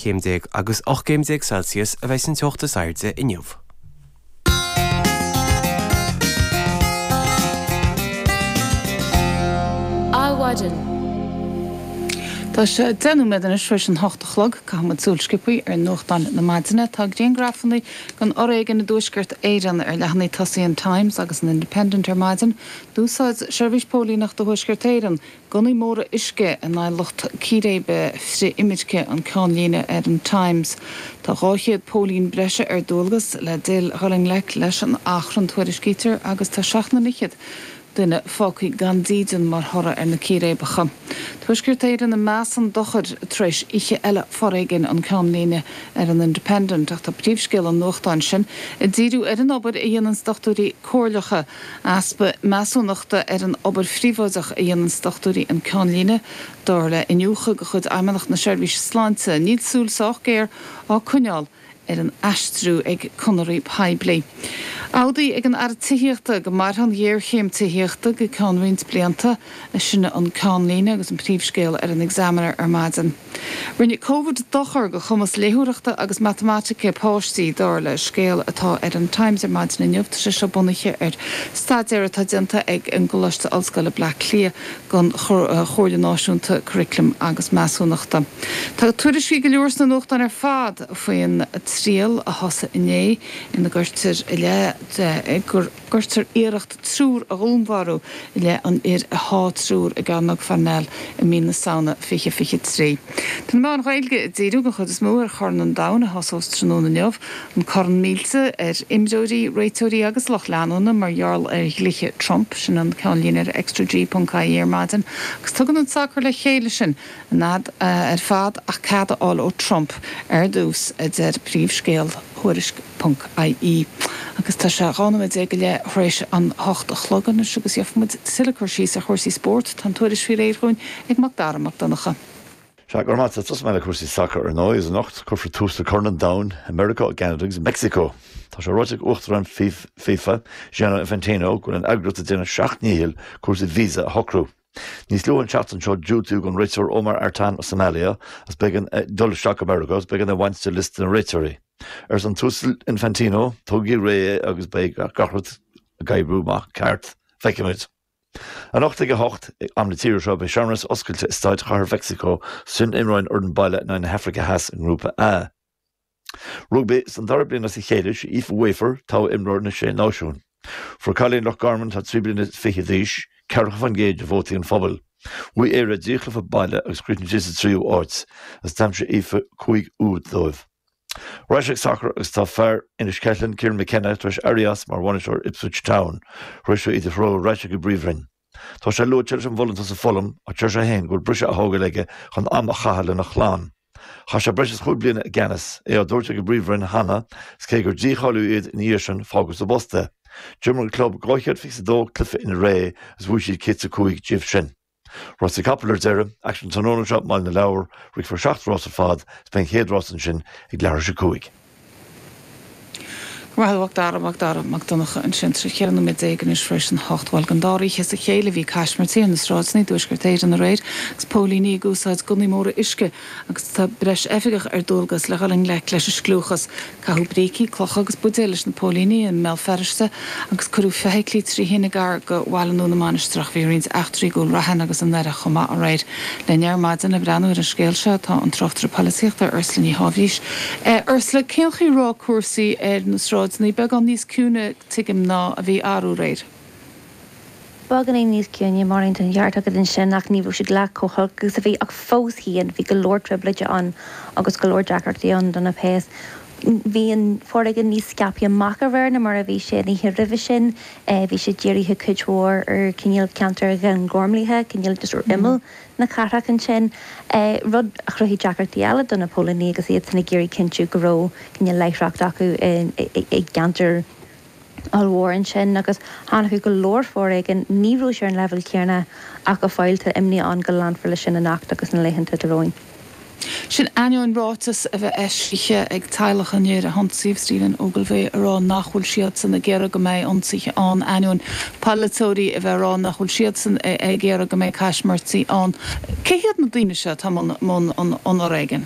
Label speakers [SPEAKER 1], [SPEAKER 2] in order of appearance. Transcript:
[SPEAKER 1] Céim déag agus 18 gcéim Celsius a bheidh an teocht is airde inniu.
[SPEAKER 2] Adhmhaidin. Tá sé 10 nóiméad anois tar éis an hocht a chlog. Caithfidh muid súil sciobtha ar nuachtáin na maidine. Tá griangrafanna den fhoréigean i dTuaisceart Éireann ar leathanaigh tosaigh an Times agus an Independent ar maidin. D'úsáid Seirbhís Póilíneachta Thuaisceart Éireann Gunnaí móra uisce in aghaidh lucht círéibe frith-imirce an ceannlíne ar an Times. Tá 200 póilín breise ar dualgas le dul i ngleic leis an achrann, tuairiscítear, agus tá seacht ndaichead duine fágtha gan dídean mar thoradh ar na círéibeacha. Tuaisceart Éireann i meas an dochair tar éis oíche eile foréigin an ceannlíne ar an Independent ach tá príomhscéal an nuachtáin sin ag díriú ar an obair a dhéananns dochtúirí comhairleacha Easpa measúnachta ar an obair phríobháideach a dhéananns dochtúirí an ceannlíne, dar le iniúchadh de chuid Fheidhmeannacht na Seirbhíse Sláinte. Níl súil sách géar á coinneáil ar an aistriú ag conarthaí poiblí. Amhdaí ag an Aire Tithíochta go mairfidh an ghéarchéim tithíochta go ceann roinnt blianta, sin an ceannlíne agus an príomhscéal ar an Examiner ar maidin. Rinne Covid dochar do chumas léitheoireachta agus matamaitice páistí, dar le scéal atá ar an Times ar maidin inniu. Tá sé seo bunaithe ar staidéar atá déanta ag an gColáiste Ollscoile Bleá Cliath don Chomhairle Náisiúnta Curaclaim agus Measúnachta. Tá tuairiscí go leor sna nuachtáin ar fad faoin triail a thosaigh inné ina gcuirtear i leith gur gcuirtear iarracht triúr a dhúnmharú i leith an fhir a sháigh triúr i gCearnóg Pharnell i mí na Samhna 2023. Tá na meáin Ghaeilge ag díriú den chuid is mó ar Chorn an Domhain a thosós tráthnóna inniu, an corn millte ar imreoirí, réiteoirí agus lucht leanúna mar gheall ar dhlíthe Trump, sin an ceannlíne ar ExtraG.ie ar maidin, agus tugann an sacar le chéile sinn an fhad ar fad ach cead a fháil ó Trump ar dtús, a deir príomhscéal Thuairisc. Ponc IE. Agus tá sé 12 nóiméad go leith tar éis an hocht a chlog anois agus gheobhaidh muid tuilleadh cur síos ar chúrsaí spóirt. Tá an tuairisc faoi réir dhúinn ag Mac Dara Mac Donncha.
[SPEAKER 3] Sea, go raibh maith agat. Tosóidh mé le cúrsaí sacair ar ndóigh, agus anocht cuirfear tús le Corn an Domhain i Meiriceá, i gCeanada agus i Meicsiceo. Tá sé ráite ag Uachtarán FIFA, Gianni Infantino, go bhfuil an eagraíocht ag déanamh a seacht ndícheall cúrsaí visa a shocrú. Níos luaithe an tseachtain seo diúltaíodh don réiteoir Omar Artan ó Somalia agus b'éigean dul isteach go Meiriceá agus b'éigean é a bhaint de liosta na réiteoirí. Arsa an tUasal Infantino, Tógaigí réidh é agus beidh gach rud ag oibriú amach ceart. Feicfimid. Anocht ag a hocht, am na tíre seo, beidh searmanas oscailte i Staid Chathair Mheicsiceo sula n-imreoidh an fhoireann baile in aghaidh na hAfraice Theas i nGrúpa A. Rugbaí, Don dara bliain as a chéile, sí Aoife Wafer togha imreoir na Sé Náisiún. Fuair cailín Loch Garman atá 23 bliana d'aois, 40% de vótaí an phobail. Bhuaigh Éire a dtrí chluiche baile agus chríochnaigh siad sa tríú háit, agus d'aimsigh Aoife 5 úd dóibh. Ar ais ag sacar agus tá fear Inis Ceithleann, Kieran McKenna, tar éis éirí as mar bhainisteoir Ipswich Town, tar éis dó iad a threorú ar ais ag an bPríomhroinn. Tá sé luaite leis an bhfolúntas i Fulham ach deir sé féin go bhfuil briseadh á thógáil aige chun am a chaitheamh lena chlann. Chaith sé breis is chúig bliana i gceannas, é á dtabhairt ag an bPríomhroinn cheana is cé gur dícháilíodh iad ina dhiaidh sin fágadh sa bpost é. D'imir an club 222 cluiche ina ré agus bhuaigh siad 105 díobh sin. Rásaí capall ar deireadh, aicsean tráthnóna seo i mBaile na Lobhar, rithfear seacht rás ar fad is beidh an chéad rás ansin ag leathuair tar éis a cúig.
[SPEAKER 2] Go raibh maith agat Mac Dara Mac Donncha ansin. Tá sé 14 nóiméad anois tar éis an hocht. Bhuel, don dara oíche as a chéile bhí caismirtí ar na sráideanna i dTuaisceart Éireann aréir agus póilíní ag úsáid gunnaí móra uisce agus tá breis oifigeach ar dualgas le dhul i ngleic leis an scliúchas. Caitheadh brící, clocha agus buidéil leis na póilíní i mBéal Feirste agus cuireadh feithiclí trí thine gar do Bhaile Nua na Mainistreach. Bhí roinnt eachtraí i gCúil Raithin agus i nDoire chomh maith aréir. Linn ar maidin le breathnú ar an scéal seo tá an tráchtaire polaitíochta Ursula Ní Sháibhís. Ursula, cén chaoi a raibh cúrsaí ar na sráideanna? Beagán níos ciúine, tuigim, ná a bhí arú aréir.
[SPEAKER 4] Beagáinín níos ciúine, Máirín, tá an ceart agat ansin, ach ní raibh siad leath chomh holc agus a bhí, ach fós féin, bhí go leor trioblóide ann agus go leor deacrachtaí ann do na péas. Bhí an foréigean níos scaipthe amach aréir ná mar a bhí sé an oíche roimhe sin. Bhí sé dírithe cuid mhór ar cineál ceantar Ghleann Ghormlaithe, cineál just ar imeall na cathrach ansin, rud a chruthaigh deacrachtaí eile do na póilíní agus iadsan ag iarraidh cinntiú go raibh cineál láithreacht acu i gceantar ollmhór ansin agus tháinig go leor foréigin. Ní raibh sé ar an leibhéal céanna ach go fóill tá imní ann go leanfar leis sin anocht agus na laethanta atá romhainn.
[SPEAKER 2] Sin ainneoin ráiteas a bheith eisithe ag teaghlach an fhir a hionsaíodh, Stephen Ogilvie, ag rá nach bhfuil siadsan ag iarraidh go mbeidh ionsaithe ann, ainneoin polaiteoirí a bheith ag rá nach bhfuil siadsan ag iarraidh go mbeidh caismirtí ann. Cé hiad na daoine seo atá i mbun an fhoréigin?